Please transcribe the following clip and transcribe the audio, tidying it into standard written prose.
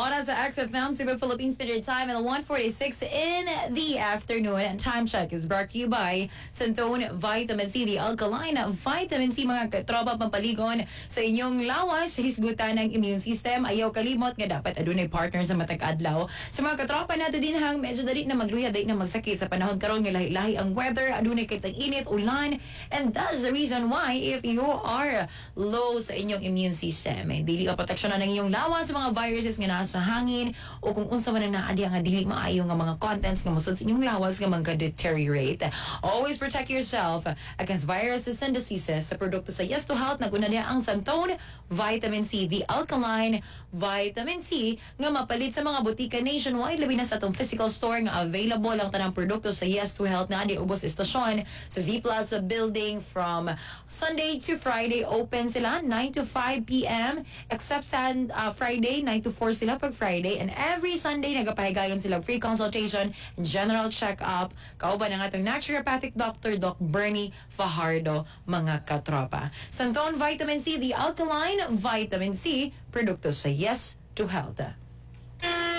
Oras sa XFM, Cebu Philippine Standard Time at 1:46 in the afternoon. And Time Check is brought to you by Santone Vitamin C, the alkaline vitamin C, mga katropa, pampaligon sa inyong lawas, hisgutan ng immune system. Ayaw kalimot nga dapat adunay partner sa matag adlaw. Sa mga katropa nato dinhang medyo dali na magluya, dali na magsakit sa panahon karon nga lahi-lahi ang weather, adunay kay tag-init, ulan, and that's the reason why if you are low sa inyong immune system, eh, dili ka proteksyonan ng inyong lawas sa mga viruses nga nasa hangin o kung unsa man ang naa diha nga dili maayo nga mga contents nga mosud sa inyong lawas nga magka-deteriorate. Always protect yourself against viruses and diseases sa produkto sa Yes to Health. Naguna niya ang Santone Vitamin C, the alkaline vitamin C nga mapalit sa mga botika nationwide, labi na sa atong physical store nga available ang tanang produkto sa Yes to Health na di ubos istasyon sa Z Plaza building. From Sunday to Friday open sila 9 to 5 p.m. except sa Friday, 9 to 4 sila pag Friday, and every Sunday nagapahigayon sila free consultation and general check-up kauban ang atong naturopathic doctor, Doc Bernie Fajardo, mga katropa. Santone Vitamin C, the alkaline vitamin C, produkto sa Yes to Health.